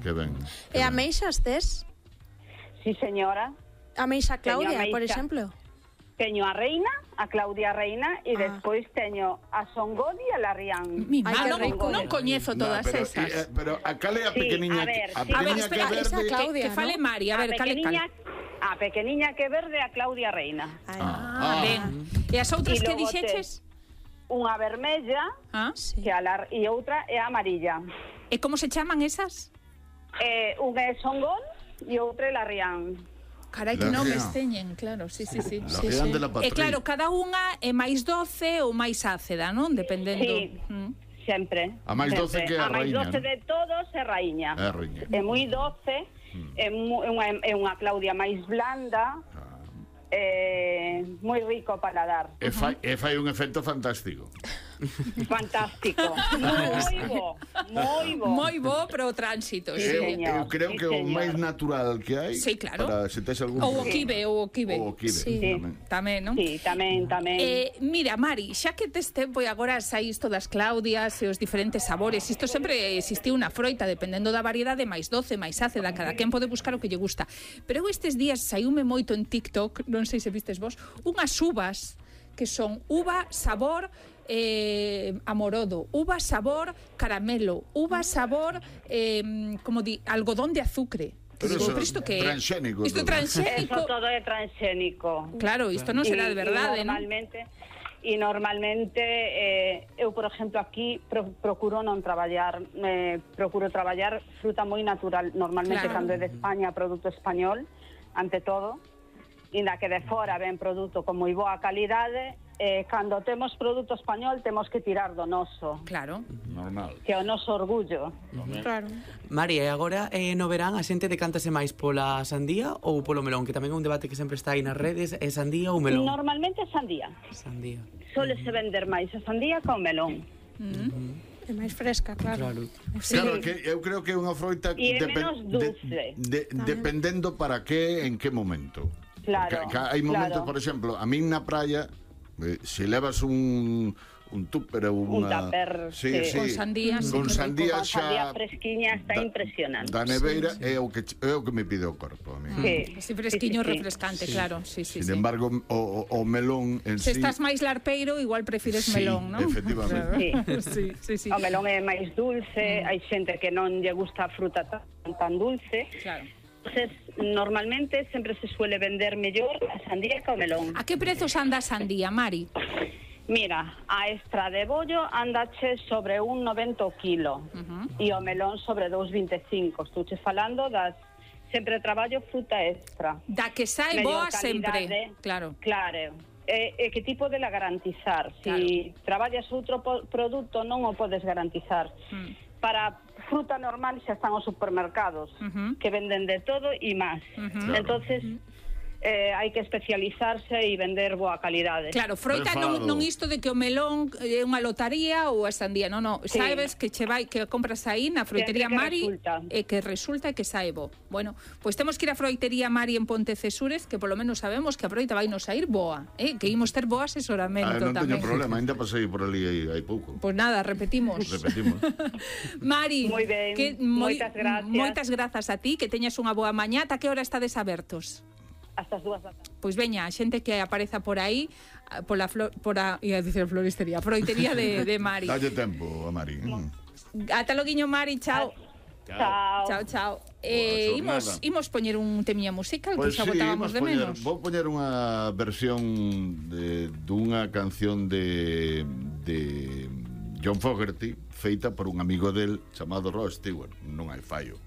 Que ben. E ameixas tes? Sí, señora. Ameixa Claudia, Teño ameixa. por exemplo. Teño a Reina, a Claudia Reina, e despois teño a Songodi e a la Rian. Mi Ai, que rico. non coñezo todas esas. Pero a cal é a Sí, pequeniña? a ver, A sí. A ver, pequeniña que espera, é esa verde. Claudia, que fale ¿no? Mari, a ver, cale cal. A pequeniña que verde, a Claudia Reina. Ben. E as outras E que logo dixeches? Unha vermella, Ah? Sí. que e outra é a amarilla. E como se chaman esas? Unha é Songol e outra é la Rian. Carai, que La nomes Rian. teñen, claro, sí. La Rian de la E Patria. claro, cada unha é máis doce ou máis ácida, non? Dependendo. Sí. Sempre. A máis doce que a A máis raíña, doce non? de todos é raíña. É a raíña. É moi doce, é unha Claudia máis blanda, moi rico o paladar. E fai un efecto fantástico. Fantástico. Moi bo. Moi bo para o tránsito, Sí, sí. señor. Eu creo Sí, que o señor. máis natural que hai. Sí, claro. Para se tes algún Ou o problema. kibe, ou o kibe. Ou o kibe, Sí. tamén. Tamén, non? Sí, tamén. Mira, Mari, xa que tes tempo e agora saís todas Claudias e os diferentes sabores, isto sempre existiu unha froita, dependendo da variedade, máis doce, máis ácida, cada quen pode buscar o que lle gusta. Pero eu estes días saiume moito en TikTok, non sei se vistes vos, unhas uvas que son uva sabor amorodo, uva sabor caramelo, uva sabor como di, algodón de azucre. Pero Digo, eso pero isto que é? transxénico Isto é todo. transxénico. Eso todo é transxénico. Claro, isto non será de verdade, non? Normalmente eu, por exemplo, aquí procuro non traballar, procuro traballar fruta moi natural, normalmente Claro. cando é de España, produto español, ante todo, inda que de fora ven produto con moi boa calidade, cando temos produto español temos que tirar do noso, Claro. Normal. que é o noso orgullo. Claro. Mari, e agora no verán a xente decántase máis pola sandía ou polo melón, que tamén é un debate que sempre está aí nas redes, é sandía ou melón? Normalmente é sandía. Sandía. Solese vender máis a sandía que o melón. É máis fresca, claro. Claro. Claro, que eu creo que é unha froita E é menos dulce. dependendo para que, en que momento. Claro, Porque hai momentos, claro. por exemplo, a min na praia, se levas un tupper ou Un unha... tupper, sí. Con sandía, sí, Con que rico. sandía Con sandía xa... fresquiña está impresionante. Da neveira é o que me pide o corpo a mí. Sí. Así fresquiño, Sí, sí, sí. refrescante, claro. Sí. Sin embargo, o melón en Se sí... estás máis larpeiro, igual prefires Sí, melón, non? efectivamente. Sí. O melón é máis dulce, hai xente que non lle gusta a fruta tan dulce. Claro. Entonces, normalmente sempre se suele vender mellor a sandía que o melón. A que prezos anda a sandía, Mari? Mira, a extra de bollo andache sobre 1,90 o kilo e o melón sobre 2,25. Estouche falando das... Sempre traballo fruta extra. Da que sae Mellor boa sempre. calidade. Claro. Claro. E que tipo de la garantizar? Si traballas outro produto non o podes garantizar. Para fruta normal xa están os supermercados que venden de todo e máis. Entonces hai que especializarse e vender boa calidade. Claro, froita non isto de que o melón é unha lotaría ou a sandía, non. Sí. Sabes que che vai que compras aí na froitería Sempre que Mari resulta. e que resulta que sae bo. Bueno, pois temos que ir á froitería Mari en Pontecesures, que polo menos sabemos que a froita vai nos sair boa, que imos ter bo asesoramento non teño tamén. problema, ainda pasei por ali hai pouco. Pois nada, repetimos. Mari, Moi ben, moitas gracias. Moitas grazas a ti, que teñas unha boa mañá. Ata que hora estades abertos? Hasta as 2 da tarde. Pois veña, a xente que apareza por aí ia dicir floristería, froitería de Mari. Dalle tempo a Mari. Ata loguiño, Mari, chao. Chao. Chao. jornada. Imos poñer un temilla musical que xa sí, botábamos de menos. Vou poñer unha versión dunha canción de John Fogerty feita por un amigo del chamado Rod Stewart. Non hai fallo.